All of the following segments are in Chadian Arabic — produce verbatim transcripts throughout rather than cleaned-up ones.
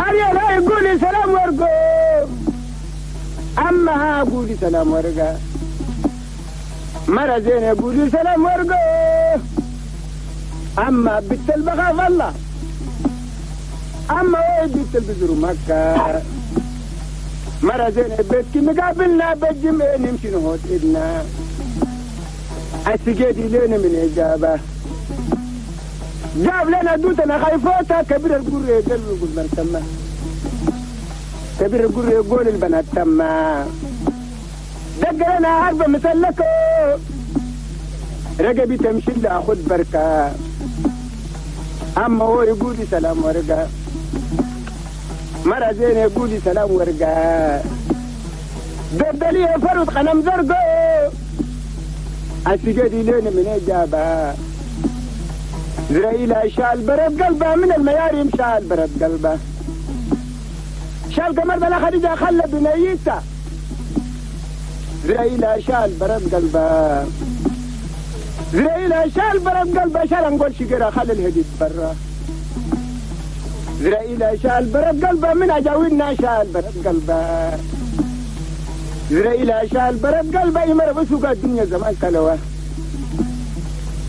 أريال هاي قولي سلام ورقو أما ها قولي سلام ورقا مرة زينة قولي سلام ورقو أما بنت البخاف الله أما وين بنت البزر مكة مرة زينة بيتك مقابلنا بالجمع نمشي نهوت إدنا السجادي لنا من إجابة جاب لنا دوتنا خايفوتا كبير القرية يقول من تما كبير القرية يقول البنات تما دق لنا عربة مسلكة رقبي تمشي لأخذ بركة أما هو يقول سلام ورقة مرة زينة يقول سلام ورقة دردلية فرد قنم زرقو السجادي لنا من إجابة زرائيل شال برد قلبه من المياريم شال برد قلبه شال قمر بلا خديجة خلى بنيته زرائيل شال برد قلبه زرائيل شال برد قلبه شال نقول شجرة خلى الهديد برا زرائيل شال برد قلبه من أجاوينا شال برد قلبه زرائيل شال برد قلبه يمر بسوق الدنيا زمان كلوه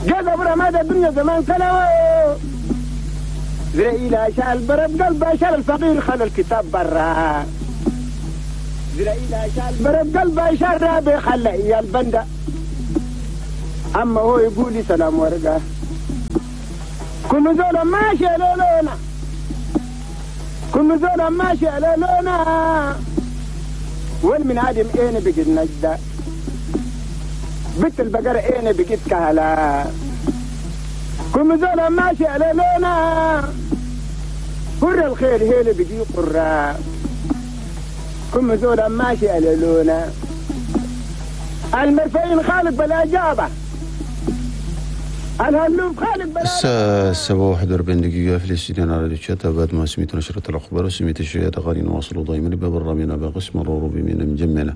جذب رماد الدنيا زمان كلوه زرائيل شال برد قلبه شال الفقير خلى الكتاب برا زرائيل شال برد قلبه شال رابي خلى إيا البندة أما هو يقول لي سلام ورقة كل زولا ماشي لولونا كل زولا ماشي لولونا وين من عادم اين بقيت نجدة بنت البقرة اين بقيت كهلا كل زولا ماشي لولونا قر الخير هيل بقي قرة كل زولا ماشي لولونا المرفعين خالق بلا جابة الهلوب خالق بلا الساعة سبعة وواحد وأربعين دقيقة في الاستديو على راديو تشاتا بعد ما سميت نشرة الأخبار وسميت الشيء غالي نواصل دائما ببرنامجنا بقسم الروبي من مجمنا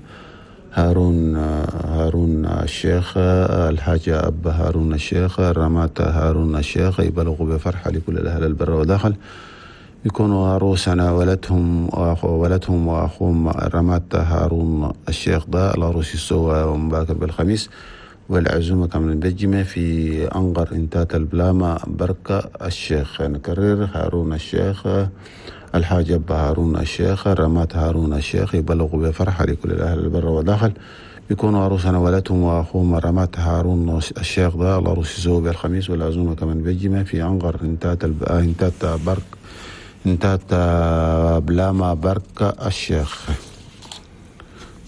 هارون هارون الشيخ الحاجة أب هارون الشيخ رمات هارون الشيخ يبلغ بفرحة لكل الأهل البر وداخل يكونوا عروسنا ولدهم ولدهم وأخوهم رمات هارون الشيخ ده العروس يسوى ومباكر بالخميس والعزومة كمان بجمة في أنقر انتات البلامة بركة الشيخ. نكرر هارون الشيخ الحاج أبا هارون الشيخ رمات هارون الشيخ يبلغ بفرحة لكل الأهل البر وداخل يكونوا عروسنا ولدهم وأخوهم رمات هارون الشيخ ده العروس يسوى بالخميس والعزومة كمان بجمة في أنقر انتات الب... انتات برك انتات بلاما بركة الشيخ.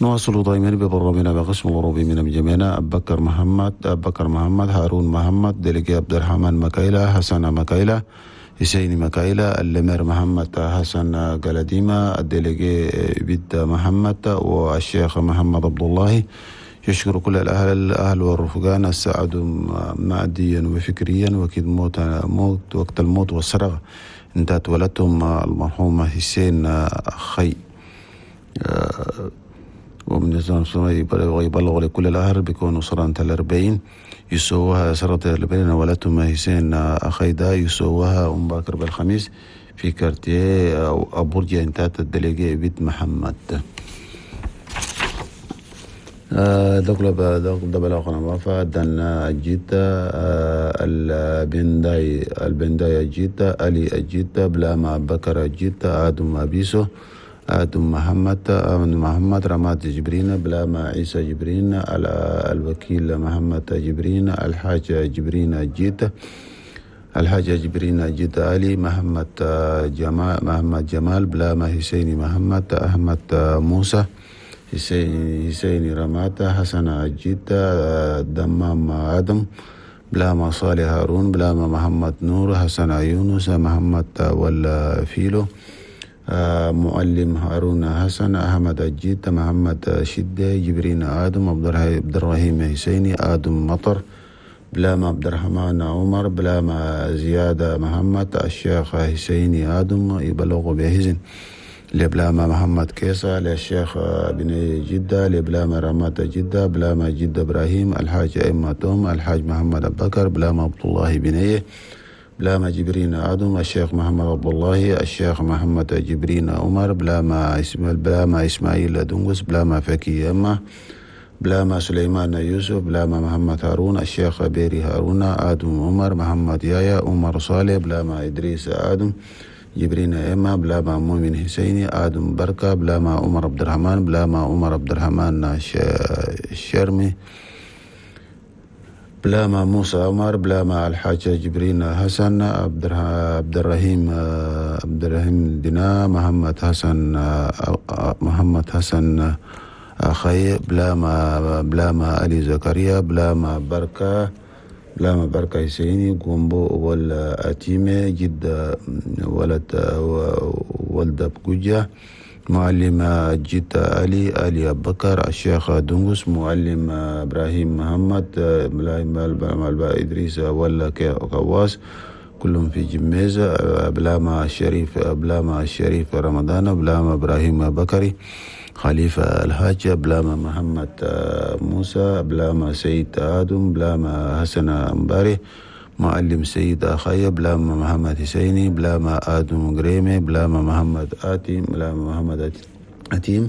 نواصل دائما ببرنامجنا بقسم الغروبي من جميعنا أبو بكر محمد أبو بكر محمد هارون محمد دلقي عبد الرحمن مكايلة حسن مكايلة حسين مكايلة اللمير محمد حسن قلديمة الدلقي بيد محمد والشيخ محمد عبد الله. يشكر كل الأهل الأهل والرفقان الساعدوا ماديا وفكريا وكيد موت موت وقت الموت والسرقة انتهت ولدتهم المرحوم حسين خي ومن يبلغ لكل الأهل بيكونوا سنة الأربعين يسووها سنة الأربعين ولدتهم حسين أخي دا يسووها أم باكر بالخميس في كارتيه أبورجا انتهت الدليجي بيت محمد. دخل بلاغنا وفا دنا جيتا البنداي البنداي جيتا علي جيتا بلاما بكر جيتا آدم أبيسو آدم محمد آمن محمد رماد جبرين بلاما عيسى جبرين الوكيل محمد جبرين الحاج جبرين جيتا الحاج جبرين جيتا علي محمد جمال محمد جمال بلاما حسين محمد أحمد موسى حسين حسين رماتا حسن جيتا دمام آدم بلاما صالح هارون بلاما محمد نور حسن يونس محمد ولا فيلو معلم هارون حسن أحمد جيتا محمد شدة جبرين آدم عبد الرحيم حسيني آدم مطر بلاما عبد الرحمن عمر بلاما زيادة محمد الشيخ حسيني آدم يبلغ بهزن لبلاما محمد كيسا للشيخ بن جدة لبلاما رمات جدة بلاما جدة إبراهيم الحاج إما توم الحاج محمد أبو بكر بلاما عبد الله بنيه بلاما جبرين آدم، الشيخ محمد عبد الله، الشيخ محمد جبرين عمر، بلاما اسماعيل بلاما إسماعيل دنقس، بلاما فكي أما، بلاما سليمان يوسف، بلاما محمد هارون، الشيخ بيري هارون، آدم عمر، محمد يايا، عمر صالح، بلاما إدريس آدم، جبرين إما، بلاما مؤمن حسيني، آدم بركة، بلاما عمر عبد الرحمن، بلاما عمر عبد الرحمن الشرمي، بلاما موسى عمر، بلاما الحاج جبرين حسن، عبد الرحيم عبد الرحيم دينا، محمد حسن محمد حسن أخي، بلاما بلاما علي زكريا، بلاما بركة بلاما بركة حسيني، قومبو ولا أتيمة جد ولد ولد بقجة، معلم جد علي علي أبو بكر، الشيخ دنقس، معلم إبراهيم محمد، إدريس ولا كواس، كلهم في جميزة، بلاما الشريف بلاما الشريف رمضان، بلاما إبراهيم بكري، خليفة الحاج، بلاما محمد موسى، بلاما سيد آدم، بلاما حسن أمباري، معلم سيد أخي، بلاما محمد حسيني، بلاما آدم غريمي، بلاما محمد آتيم، بلاما محمد أتيم،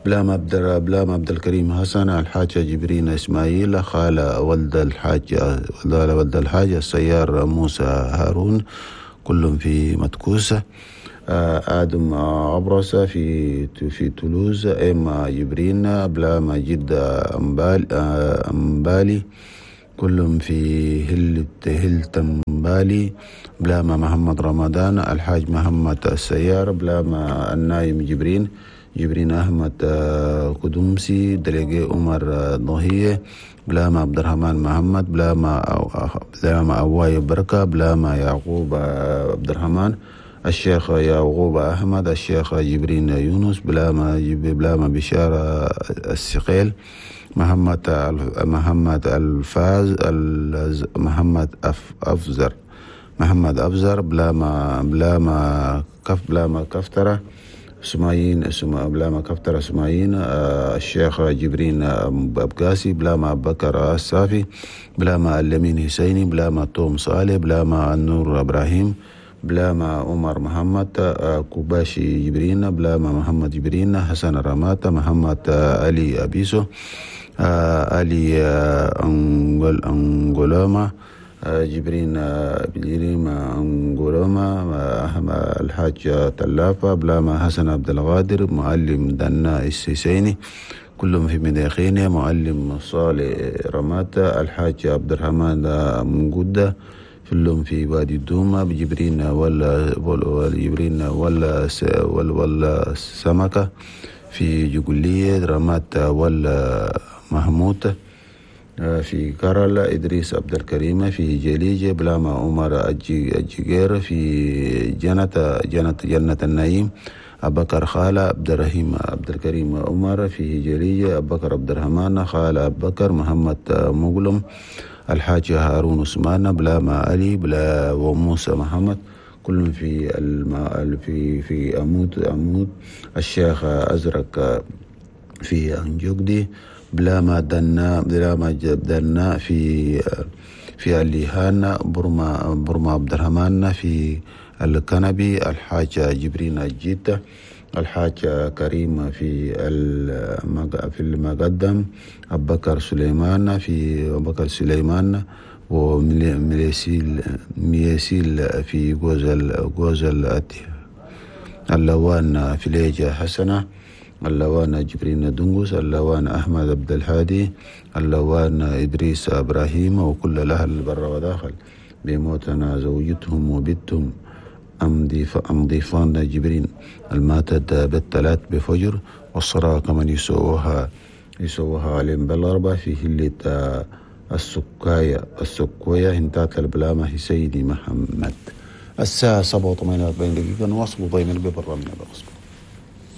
بلاما عبد بلاما عبد الكريم حسن، الحاج جبرين إسماعيل، خالة ولد الحاج ولد الحاج السيار موسى هارون، كلهم في متكوسة، آدم عبرسة في في تولوز، إما جبرين، بلاما جد أمبالي، كلهم في هل هلتمبالي، بلاما محمد رمضان، الحاج محمد السيار، بلاما النايم جبرين، جبرين أحمد قدومسي، دليجي عمر ضهية، بلاما عبد الرحمن محمد، بلاما بلاما أواي بركة، بلاما يعقوب عبد الرحمن، الشيخ يعقوب أحمد، الشيخ جبرين يونس، بلاما بلاما بشارة السقيل، محمد محمد الفاز محمد أفزر محمد أفزر، بلاما بلاما كف بلاما كفترة سمايين بلاما كفترة سمايين، الشيخ جبرين أبقاسي، بلاما بكر الصافي، بلاما اللمين حسيني، بلاما توم صالح، بلاما النور إبراهيم، بلاما عمر محمد، كوباشي جبرين، بلاما محمد جبرين، حسن رماتا، محمد علي أبيسو، علي أنغول أنغولوما، جبرين بليريم أنغولوما، الحاج تلافة، بلاما حسن عبد القادر، معلم دنا السيسيني، كلهم في مداخينة، معلم صالح رماتا، الحاج عبد الرحمن منقودة، كلهم في وادي الدومة، بجبرين ولا ولا جبرين ولا ولا ولا سمكة في جقلية، رمات ولا محمود في كرل، إدريس عبد الكريم في جليجة، بلاما عمر الجير في جنة جنة جنة النعيم، أبكر خالة عبد الرحيم عبد الكريم عمر في جليجة، أبكر عبد الرحمن خالة أبكر محمد مغلم، الحاج هارون عثمان، بلاما علي بلا وموسى محمد، كلهم في الم... في في أمود أمود، الشيخ أزرق في أنجوكدي، بلاما دنا بلاما دنا في في الليهان، برما برما عبد الرحمن في الكنبي، الحاج جبرين الجيتة، الحاج كريم في في المقدم، أبو بكر سليمان في أبو بكر سليمان، وميسيل ميسيل في جوزل جوزل اللوان في ليجة حسنة، اللوان جبرين دنقس، اللوان أحمد عبد الهادي، اللوان إدريس إبراهيم، وكل الأهل بر وداخل بموتنا زوجتهم وبنتهم أم ضيفان جبرين الماتت بالثلاث بفجر، والصلاة كمان يسووها يسووها عليهم بالأربعة في هلة السكاية السكوية انتات البلامة سيدي محمد. الساعة سبعة وثمانية وأربعين دقيقة، نواصل ضيمن ببرنامجنا بقسم.